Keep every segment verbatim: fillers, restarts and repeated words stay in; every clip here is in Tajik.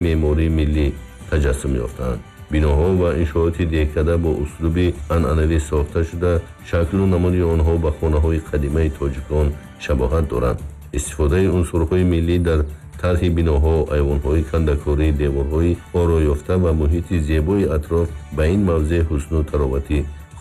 Меъмории миллӣ таҷассум ёфтаанд. Биноҳо ва иншооти деҳкада бо услуби анъанавӣ сохта шуда, шаклу намуди онҳо ба хонаҳои қадимаи тоҷикон шабоҳат доранд. Истифодаи унсурҳои миллӣ дар тарҳи биноҳо, айвонҳои кандакорӣ, деворҳои ороёфта ва муҳити зебои атроф ба ин мавзеъ ҳусну таровати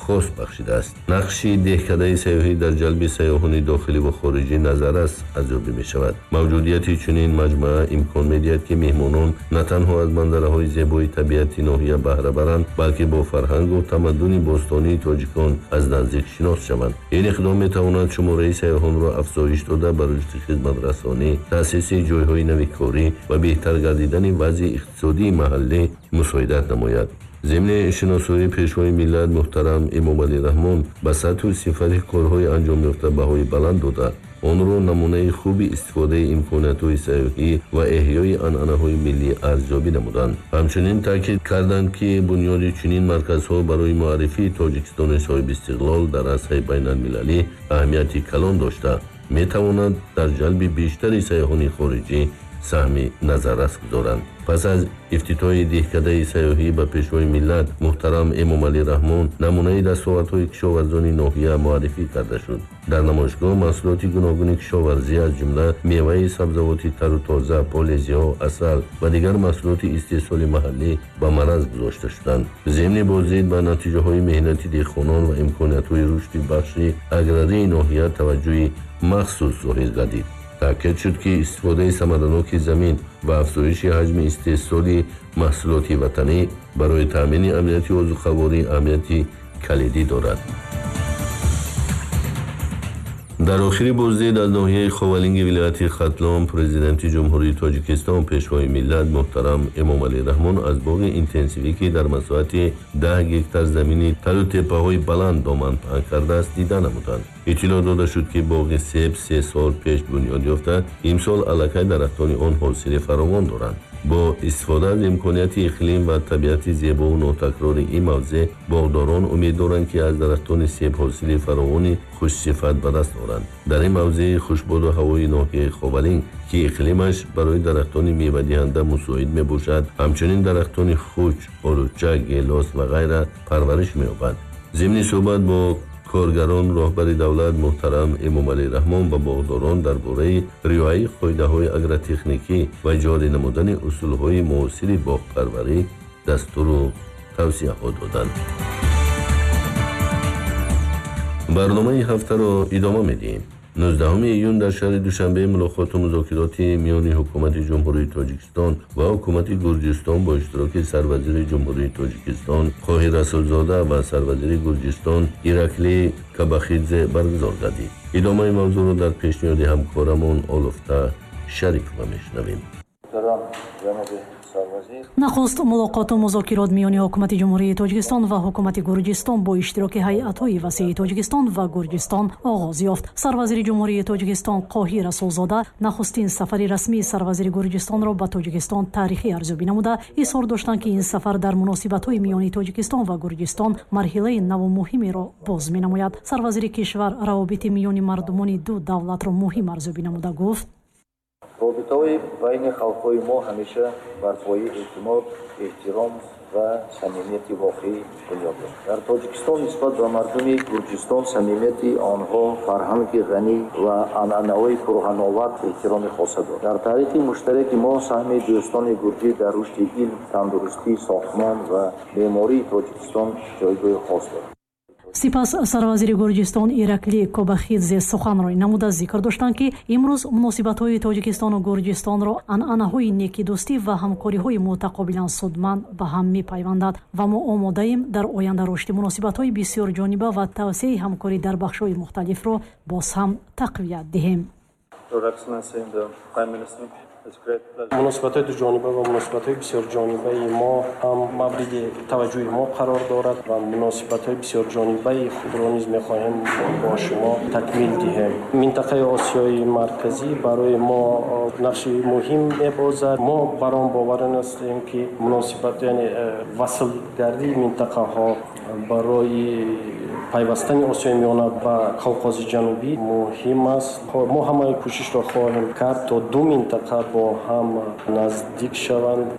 хос бахшидааст. Нақши деҳкадаи сайёҳӣ дар ҷалби сайёҳони дохилӣ ва хориҷӣ назаррас арзёбӣ мешавад. Мавҷудияти чунин маҷмӯа имкон медиҳад, ки меҳмонон на танҳо аз манзараҳои зебои табиати ноҳия баҳра баранд, балки бо фарҳангу тамаддуни бостонии тоҷикон аз наздик шинос шаванд. Ин иқдом метавонад шумораи сайёҳонро афзоиш дода, ба рушди хизматрасонӣ, таъсиси ҷойҳои нави корӣ ва беҳтар гардидани вазъи иқтисодии маҳаллӣ мусоидат намояд. Зимни шиносоии Пешвои миллат муҳтарам Эмомалӣ Раҳмон ба сатҳу сифати корҳои анҷомёфта баҳои баланд дода, онро намунаи хуби истифодаи имкониятҳои сайёҳӣ ва эҳёи анъанаҳои миллӣ арзёбӣ намуданд. Ҳамчунин таъкид карданд, ки бунёди чунин марказҳо барои муаррифии Тоҷикистони соҳибистиқлол дар арсаи байналмилалӣ аҳамияти калон дошта, метавонад дар ҷалби бештари сайёҳони хориҷӣ саҳми назаррас гузоранд. Пас аз ифтитоҳи деҳкадаи сайёҳӣ ба Пешвои миллат муҳтарам Эмомалӣ Раҳмон намунаи дастовардҳои кишоварзони ноҳия муаррифӣ карда шуд. Дар намоишгоҳ маҳсулоти гуногуни кишоварзӣ, аз ҷумла меваи сабзавоти тару тоза, полезиҳо, асал ва дигар маҳсулоти истеҳсоли маҳаллӣ ба мараз гузошта шуданд. Зимни боздид ба натиҷаҳои меҳнати деҳқонон ва имкониятҳои рушди бахши аграрии ноҳия таваҷҷӯҳи махсус зоҳир гардид. Таъкид шуд, ки истифодаи самараноки замин ва афзоиши ҳаҷми истеҳсоли маҳсулоти ватанӣ барои таъмини амнияти озуқаворӣ аҳамияти калидӣ дорад. Дар охири боздид аз ноҳияи Ховалинги вилояти Хатлон Президенти Ҷумҳурии Тоҷикистон, Пешвои миллат муҳтарам Эмомалӣ Раҳмон аз боғи интенсивӣ, ки дар масоҳати даҳ гектар замини талу теппаҳои баланд доман паҳн кардааст, дида намуданд. Иттилоъ дода шуд, ки боғи себ се сол пеш бунёд ёфта, имсол аллакай дарахтони он ҳосили фаровон доранд. Бо истифода аз имконияти иқлим ва табиати зебову нотакрори ин мавзеъ боғдорон умед доранд, ки аз дарахтони себ ҳосили фаровони хушсифат ба даст оранд. Дар ин мавзеи хушбоду ҳавои ноҳияи Ховалинг, ки иқлимаш барои дарахтони мевадиҳанда мусоид мебошад, ҳамчунин дарахтони хуч, олуча, гелос ва ғайра парвариш меёбад. Зимни суҳбат бо коргарон роҳбари давлат муҳтарам Эмомалӣ Раҳмон ба боғдорон дар бораи риояи қоидаҳои агротехникӣ ва ҷорӣ намудани усулҳои муосири боғпарварӣ дастуру тавсияҳо доданд. Барномаи ҳафтаро идома медиҳем. нуздаҳуми июн дар шаҳри Душанбе мулоқоту музокироти миёни Ҳукумати Ҷумҳурии Тоҷикистон ва Ҳукумати Гурҷистон бо иштироки Сарвазири Ҷумҳурии Тоҷикистон Қоҳир Расулзода ва Сарвазири Гурҷистон Ираклӣ Кабахидзе баргузор гардид. Идомаи мавзӯъро дар пешниҳоди ҳамкорамон Олуфта Шарипова мешунавем. Нахуст мулоқоту музокирот миёни Ҳукумати Ҷумҳурии Тоҷикистон ва Ҳукумати Гурҷистон бо иштироки ҳайатҳои васеи Тоҷикистон ва Гурҷистон оғоз ёфт. Сарвазири Ҷумҳурии Тоҷикистон Қоҳир Расулзода нахустин сафари расмии сарвазири Гурҷистонро ба Тоҷикистон таърихӣ арзёбӣ намуда, изҳор доштанд, ки ин сафар дар муносибатҳои миёни Тоҷикистон ва Гурҷистон марҳилаи наву муҳимеро боз менамояд. Сарвазири кишвар равобити миёни мардумони ду давлатро муҳим арзёбӣ намуда, гуфт: Робитаҳои байни халқҳои мо ҳамеша бар пояи эътимод, эҳтиром ва самимияти воқеӣ бунёд ёфт. Дар Тоҷикистон нисбат ба мардуми Гурҷистон, самимияти онҳо, фарҳанги ғанӣ ва анъанаҳои пурғановат эҳтироми хоса дорад. Дар таърихи муштараки мо саҳми дӯстони гурҷӣ дар рушди илм, тандурустӣ, сохтмон ва меъмории Тоҷикистон ҷойгоҳи хос дорад. Сипас сарвазири Гурҷистон Ираклӣ Кобахидзе суханронӣ намуда, зикр доштанд, ки имрӯз муносибатҳои Тоҷикистону Гурҷистонро анъанаҳои некидӯстӣ ва ҳамкориҳои мутақобилан судманд ба ҳам мепайвандад ва мо омодаем дар оянда рушди муносибатҳои бисёрҷониба ва тавсеаи ҳамкорӣ дар бахшҳои мухталифро боз ҳам тақвият диҳем. Муносибатҳои дуҷониба ва муносибатҳои бисёрҷонибаи мо ҳам мавриди таваҷҷӯҳи мо қарор дорад ва муносибатҳои бисёрҷонибаи худро низ мехоҳем бо шумо такмил диҳем. Минтақаи Осиёи Марказӣ барои мо нақши муҳим мебозад. Мо бар он бовар ҳастем, ки муносибат, яъне васлгардии минтақаҳо барои Пайвастани Осиёи Миёна ба Қавқози Ҷанубӣ муҳим аст. Мо ҳамаи кӯшишро хоҳем кард, то ду минтақа бо ҳам наздик шаванд.